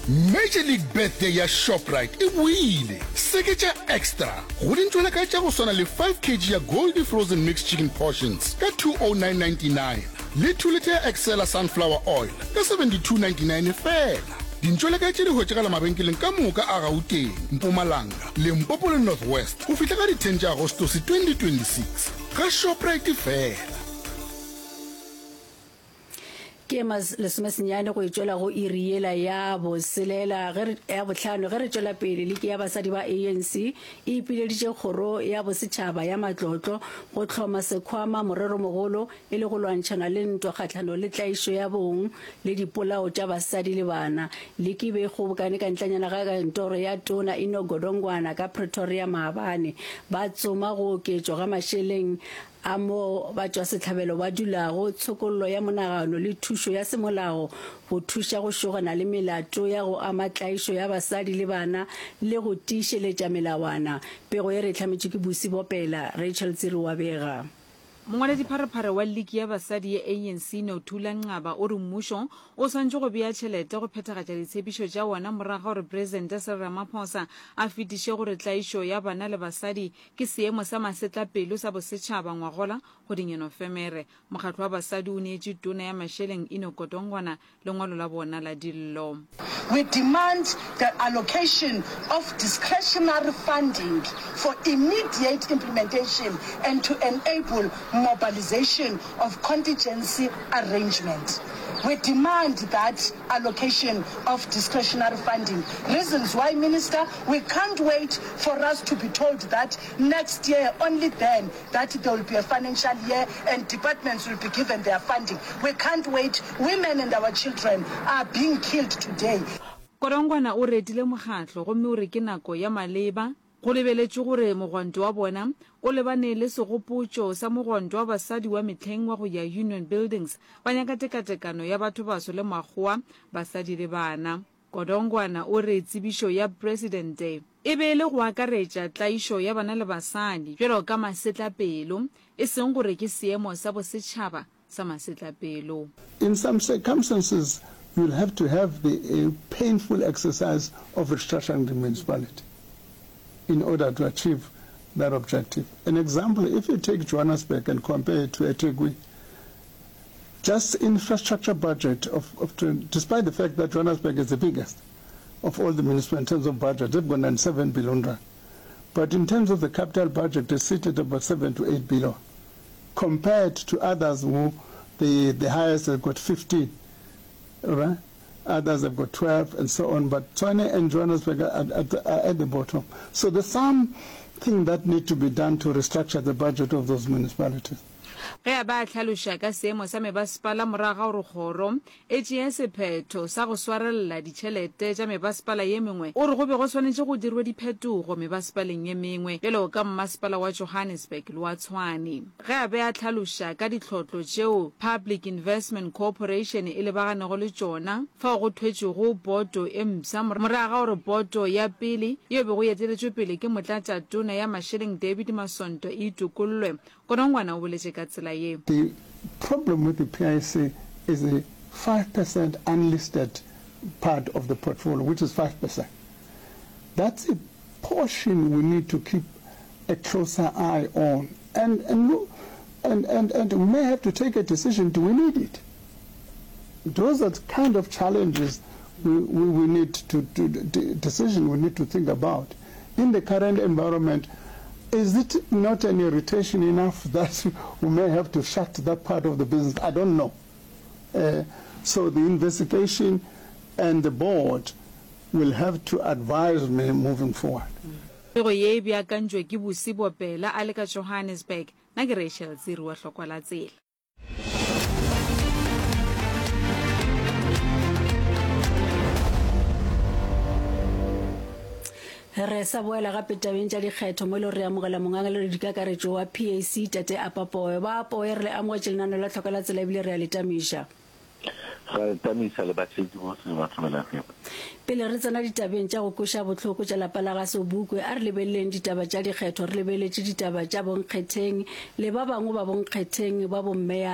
Major League Birthday ya Shoprite e boile! Seketša extra go dintšwelakae tša go swana le 5 kg ya Goldie Frozen Mixed Chicken Portions ka 209.99 le 2 litha ya Excella Sunflower Oil ka 72.99 feela. Dintšwelakae tše di hwetšagala mabenkeleng ka moka a Gauteng, Mpumalanga, Limpopo le North West go fihla ka di 10 tša Agostose 2026. Ga Shoprite feela. Ke mas lesomesenyane go e tšwela go iri yela ya boselela ge re, ya bohlano ge re tšwela pele. Liki ya basadi ba ANC e ipileditše kgoro ya bosetšhaba ya matlotlo go hloma sekhwama moreromogolo e le go lwantšhana le ntwa kgahlanong le tlaišo ya bong le dipolao tša basadi le bana. Liki e be e kgobokane ka ntlanyana ga kantoro ya Tona Enoch Godongwana ka Pretoria maabane. Ba tsoma go oketšwa ga mašeleng a moo batšwasehlabelo ba dulago, tshokollo ya monagano le thušo ya semolao go thuša go šogana le melato ya go ama tlaišo ya basadi le bana le go tiišeletša melawana. Pego ye re e hlametšwe ke Busi Bopela, Rachel Tsiri wa bega. Mongwaledipharephare wa liki ya basadi ya ANC Nothula Nqaba o re mmušo o swanetše go bea tšhelete go phethagatša ditshepišo tša wona morago ga gore Presidente Cyril Ramaphosa a fetiše gore tlaišo ya bana le basadi Ke seemo sa masetlapelo sa bosetšhaba ngwagola kgweding ya Nofemere. Mokgatlo wa basadi o neetše Tona ya Mašeleng Enoch Godongwana lengwalo la bona la dillo. We demand the allocation of discretionary funding for immediate implementation and to enable mobilization of contingency arrangement. We demand that allocation of discretionary funding. Reasons why, Minister, we can't wait for us to be told that next year, only then, that there will be a financial year and departments will be given their funding. We can't wait. Women and our children are being killed today. Kodongwana o retile mokgatlo gomme o re ke nako ya maleba Go lebeletšwe gore mogwanto wa bona o lebane le segopotšo sa mogwanto wa basadi wa mehleng wa go ya Union Buildings ba nyaka tekatekano ya bathobaso le makgowa, basadi le bana. Godongwana o re tsebišo ya Presidente e be e le go akaretša tlaišo ya bana le basadi bjalo ka masetlapelo, e seng gore ke seemo sa bosetšhaba sa masetlapelo. In some circumstances you'll have to have the painful exercise of restructuring the municipality in order to achieve that objective. An example, if you take Johannesburg and compare it to eThekwini, just infrastructure budget of, of despite the fact that Johannesburg is the biggest of all the municipalities in terms of budget, they've got 97 billion rand. But in terms of the capital budget, they sit at about 7 to 8 billion. Compared to others who the the highest have got 15, right? Others have got 12 and so on. But Tshwane and Johannesburg are at, at, are at the bottom. So there's something that need to be done to restructure the budget of those municipalities. Ge a ba a hlaloša ka seemo sa mebasepala morago ga gore kgoro e tšee sephetho sa go swarelela ditšhelete tša mebasepala ye mengwe, o re go be go swanetše go dirwe diphetogo mebasepaleng ye mengwe bjalo ka mmasepala wa Johannesburg le wa Tshwane. Ge a be a hlaloša ka dihlotlo tšeo Public Investment Corporation e lebaganego le tšona fao go thwetšwego boto e mpsha morago ga gore boto ya pele yeo e bego e eteletšwe pele ke Motlatšatona ya Mašeleng David Masondo e itokollwe, Godongwana o boletše ka tsela ye. The problem with the PIC is the 5% unlisted part of the portfolio, which is 5%. That's a portion we need to keep a closer eye on. And, and, look, and, and, and we may have to take a decision, do we need it? Those are the kind of challenges we, we, we need to, to, to decision we need to think about. In the current environment, is it not an irritation enough that we may have to shut that part of the business? I don't know. Uh, so the investigation and the board will have to advise me moving forward. Pego ye e beakantšwe ke Busi Bopela a le ka Johannesburg. Nna ke Rachel Tsiri wa Hlokwa la Tsela. Re sa boela gape tabeng tša dikgetho mo e le gore re amogela mongangaledikakaretšo wa PAC Tate Apa Poe. Ba Poe re le amogetše lenaneo la Tlhoka la Tsela ebile re a le tamiša. Ra le tamisa le batheetši bohle ba Thobela FM. Pele re tsena ditabeng tša go kweša bohloko tša lapa la ga Sobukwe, a re lebeleleng ditaba tša dikgetho, re lebeletše ditaba tša bonkgetheng le ba bangwe ba bonkgetheng ba bommeyara.